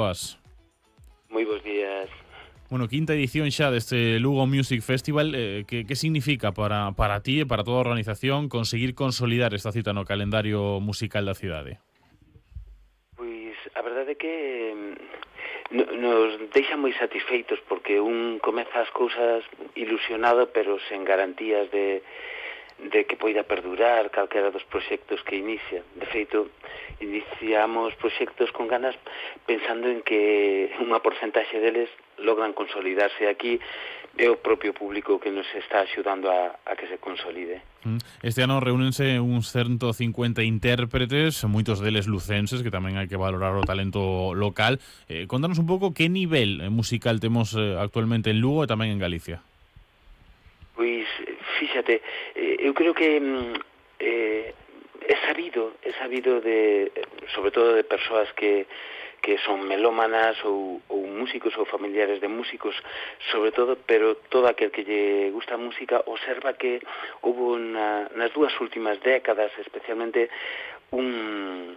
boas. Moi bons días. Bueno, quinta edición xa deste Lugo Music Festival. Que significa para ti e para toda a organización conseguir consolidar esta cita no calendario musical da cidade? Pois a verdade é que nos deixa moi satisfeitos porque un comeza as cousas ilusionado pero sen garantías de que poida perdurar calquera dos proxectos que inicia. De feito, iniciamos proxectos con ganas pensando en que unha porcentaxe deles logran consolidarse aquí e o propio público que nos está axudando a que se consolide. Este ano reúnense uns 150 intérpretes, moitos deles lucenses, que tamén hai que valorar o talento local. Contanos un pouco que nivel musical temos actualmente en Lugo e tamén en Galicia. Pois, fíxate, eu creo que é sabido de, sobre todo de persoas que son melómanas ou músicos ou familiares de músicos, sobre todo, pero todo aquel que lle gusta a música observa que houve nas dúas últimas décadas, especialmente, unha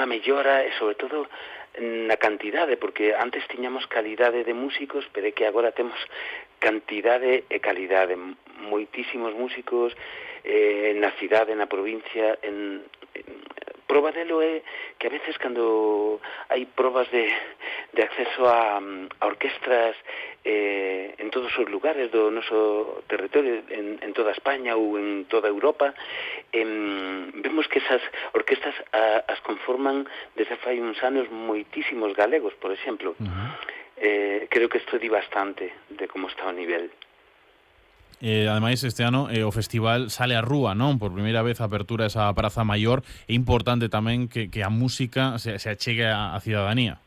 mellora e, sobre todo, na cantidade, porque antes tiñamos calidade de músicos, pero é que agora temos cantidade e calidade. Moitísimos músicos na cidade, na provincia. Proba delo é que a veces cando hai probas de acceso a orquestras en todos os lugares do noso territorio, en toda España ou en toda Europa, vemos que esas orquestas as conforman desde fai uns anos moitísimos galegos, por exemplo. Creo que isto di bastante de como está o nivel. Ademais, este ano o festival sale á rúa, non? Por primeira vez a apertura esa Praza Maior. É importante tamén que a música se achegue á cidadanía.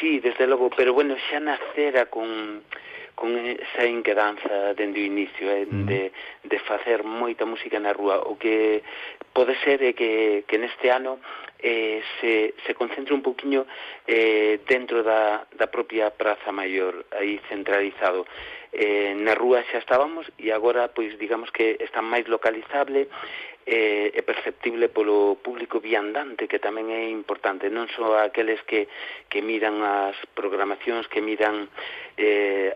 Sí, desde logo, pero bueno, xa nacera con esa inquedanza dende o inicio, de facer moita música na rúa. O que pode ser é que neste ano se concentre un poquinho dentro da propia Praza Maior, aí centralizado. Na rúa xa estábamos e agora, pois, digamos que está máis localizable e perceptible polo público viandante, que tamén é importante, non só aqueles que miran as programacións, que miran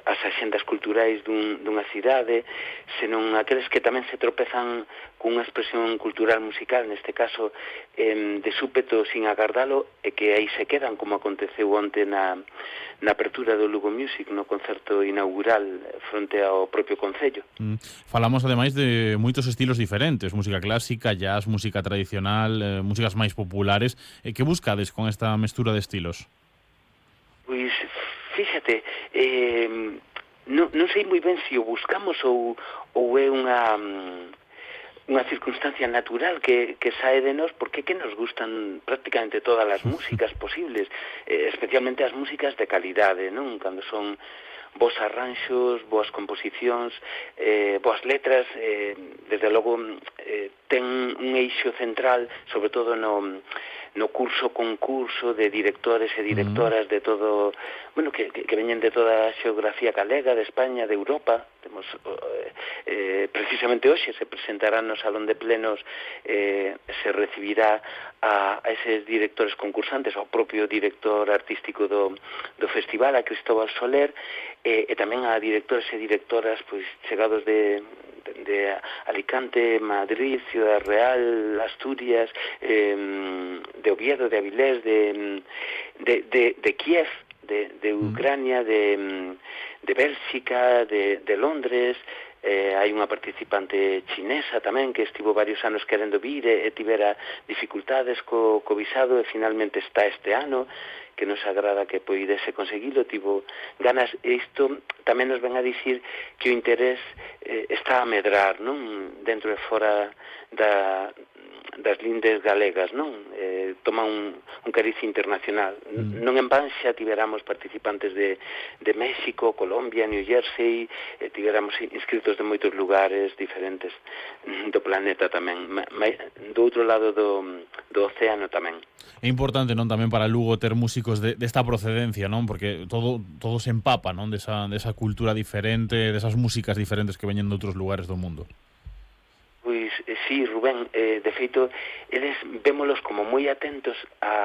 as axendas culturais dunha cidade, senón aqueles que tamén se tropezan cunha expresión cultural musical, neste caso de súpeto sin agardalo, e que aí se quedan, como aconteceu onte na apertura do Lugo Music, no concerto inaugural fronte ao propio Concello. Falamos ademais de moitos estilos diferentes, música clásica, jazz, música tradicional, músicas máis populares. Que buscades con esta mestura de estilos? Pois, fíxate, non sei moi ben se o buscamos ou é unha circunstancia natural que sae de nós, porque que nos gustan prácticamente todas as músicas posibles, especialmente as músicas de calidade, non? Cando son bons arranxos, boas composicións, boas letras, desde logo ten un eixo central, sobre todo no concurso de directores e directoras de todo, bueno, que veñen de toda a xeografía galega, de España, de Europa. Temos precisamente hoxe se presentará no Salón de Plenos, se recibirá a eses directores concursantes, ao propio director artístico do festival, a Cristóbal Soler, e tamén a directores e directoras pois chegados de Alicante, Madrid, Ciudad Real, Asturias, de Oviedo, de Avilés, de Kiev, de Ucrania, de Bélxica, de Londres. Hai unha participante chinesa tamén que estivo varios anos querendo vir e tivera dificultades co visado e finalmente está este ano, que nos agrada que poidese conseguilo, tivo ganas. Isto tamén nos ven a dicir que o interés está a medrar, non? Dentro e fora das lindes galegas, non? Toma un cariz internacional. Non en van xa tiveramos participantes de México, Colombia, New Jersey, tiveramos inscritos de moitos lugares diferentes do planeta tamén, do outro lado do océano tamén. É importante, non, tamén para Lugo ter músicos desta procedencia, non? Porque todo se empapa, non? Desa cultura diferente, desas músicas diferentes que veñen de outros lugares do mundo. Pois, sí, Rubén, de feito, eles vémolos como moi atentos a